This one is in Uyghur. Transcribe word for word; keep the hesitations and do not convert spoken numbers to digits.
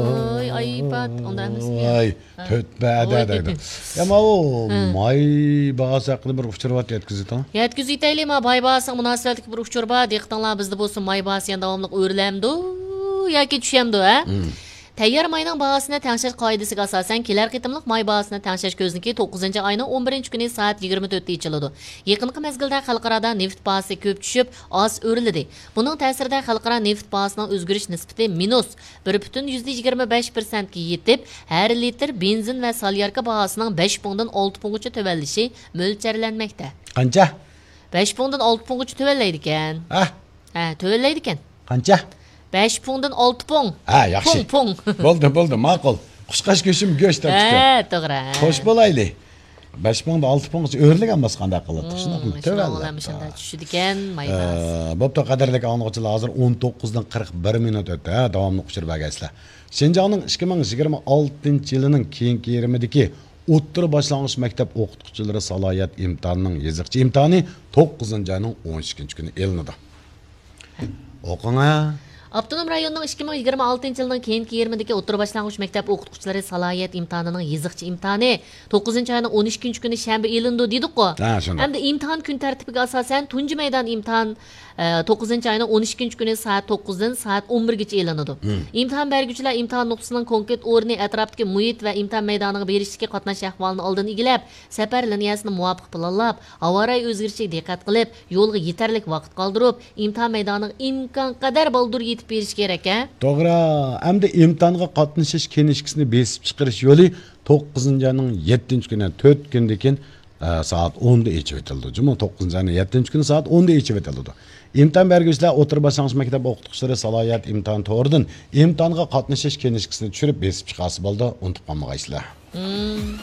ۋاي، ئايپات، ئۇنداق ئەمەسمۇ يا؟ ۋاي، ھە. تۆتبەدە ۋاي. دەيدۇ. يا، ماۋۇ ھە. ماي باھاسى ھەققىدە بىر ئۇچۇر بار، يەتكۈزۈۋېتىڭ. يەتكۈزۈۋېتەيلى، ما ماي باھاسىغا مۇناسىۋەتلىك بىر ئۇچۇر بار. دىققىتىڭلار، بىزدە بولسا ماي باھاسى يەنە داۋاملىق ئۆرلەمدۇ ياكى چۈشەمدۇ، ھە؟ مم. تەييار ماينىڭ باھاسىنى تەڭشەش قائىدىسىگە ئاساسەن، كېلەر قېتىملىق ماي باھاسىنى تەڭشەش كۆزنىكى توققۇزىنچى ئاينىڭ ئون بىرىنچى كۈنى سائەت يىگىرمە تۆتتە ئېچىلىدۇ. يېقىنقى مەزگىلدە خەلقئارادا نېفىت باھاسى كۆپ چۈشۈپ، ئاز ئۆرلىدى. بۇنىڭ تەسىرىدە خەلقئارا نېفىت باھاسىنىڭ ئۆزگىرىش نىسبىتى مىنۇس بىر پۈتۈن يۈزدە يىگىرمە بەش پىرسەنتكە يېتىپ، ھەر لىتىر بېنزىن ۋە سالياركا باھاسىنىڭ بەش پۇڭدىن ئالتە پۇڭغىچە تۆۋەنلىشى مۆلچەرلەنمەكتە. قانچە؟ بەش پۇڭدىن ئالتە پۇڭغىچە تۆۋەنلەيدىكەن. ھە؟ ھە، تۆۋەنلەيدىكەن. قانچە؟ بەش پۇڭدىن ئالتە پۇڭ. ھە، ياخشى. پۇڭ، پۇڭ. بولدى، بولدى، ماقۇل. قۇشقاچ گۆشىمۇ گۆش تارتىدىكەن. ھە، توغرا. خوش بولايلى. بەش پۇڭدىن ئالتە پۇڭغىچە ئۆرلىگەن بولسا قانداق قىلاتتۇق؟ شۇنداقمۇ؟ مم، شۇنىڭ بىلەن تۆۋەنلەپ. مۇشۇنداق چۈشىدىكەن ماي باھاسى. ئە، بوپتۇ، قەدىرلىك ئاڭلىغۇچىلار، ھازىر ئون توققۇزدىن قىرىق بىر مىنۇت ئۆتتى. ھە، داۋاملىق ئۇچۇر بەرگەيسىلەر. شىنجاڭنىڭ ئىككى مىڭ يىگىرمە ئالتىنچى يىلىنىڭ كېيىنكى يېرىمىدىكى ئوتتۇرا باشلانغۇچ مەكتەپ ئوقۇتقۇچىلىرى سالاھىيەت ئىمتىھانىنىڭ يېزىقچە ئىمتىھانى توققۇزىنچى ئاينىڭ ئون ئىككىنچى كۈنى ئېلىنىدۇ. ئوقۇڭا. ئاپتونوم رايوننىڭ ئىككى مىڭ يىگىرمە ئالتىنچى يىلنىڭ كېيىنكى يېرىمىدىكى ئوتتۇرا باشلانغۇچ مەكتەپ ئوقۇتقۇچىلىرى سالاھىيەت ئىمتىھانىنىڭ يېزىقچە ئىمتىھانى توققۇزىنچى ئاينىڭ ئون ئىككىنچى كۈنى شەنبە ئېلىنىدۇ دېدۇققۇ. ھە، شۇنداق. ئەمدى ئىمتىھان كۈن تەرتىپىگە ئاساسەن، تۇنجى مەيدان ئىمتىھان، ئە، توققۇزىنچى ئاينىڭ ئون ئىككىنچى كۈنى سائەت توققۇزدىن سائەت ئون بىرگىچە ئېلىنىدۇ. مم. ئىمتىھان بەرگۈچىلەر ئىمتىھان نۇقتىسىنىڭ كونكرېت ئورنى، ئەتراپتىكى مۇھىت ۋە ئىمتىھان مەيدانىغا بېرىشتىكى قاتناش ئەھۋالىنى ئالدىن ئىگىلەپ، سەپەر لىنىيەسىنى مۇۋاپىق پىلانلاپ، ھاۋا رايى ئۆزگىرىشىگە دىققەت قىلىپ، يولغا يېتەرلىك ۋاقىت قالدۇرۇپ، ئىمتىھان مەيدانىغا ئىمكانقەدەر بالدۇر يېتىپ بېرىش كېرەك، ھە؟ توغرا. ئەمدى ئىمتىھانغا قاتنىشىش كىنىشكىسىنى بېسىپ چىقىرىش يولى توققۇزىنچى ئاينىڭ يەتتىنچى كۈنى، تۆت كۈندىن كېيىن، ئە، سائەت ئوندا ئېچىۋېتىلىدۇ. جۇمۇ، توققۇزىنچى ئاينىڭ يەتتىنچى كۈنى سائەت ئوندا ئېچىۋېتىلىدۇ. ئىمتىھان بەرگۈچىلەر ئوتتۇرا باشلانغۇچ مەكتەپ ئوقۇتقۇچىلىرى سالاھىيەت ئىمتىھان تورىدىن ئىمتىھانغا قاتنىشىش كىنىشكىسىنى چۈشۈرۈپ بېسىپ چىقارسا بولىدۇ، ئۇنتۇپ قالمىغايسىلەر. مم.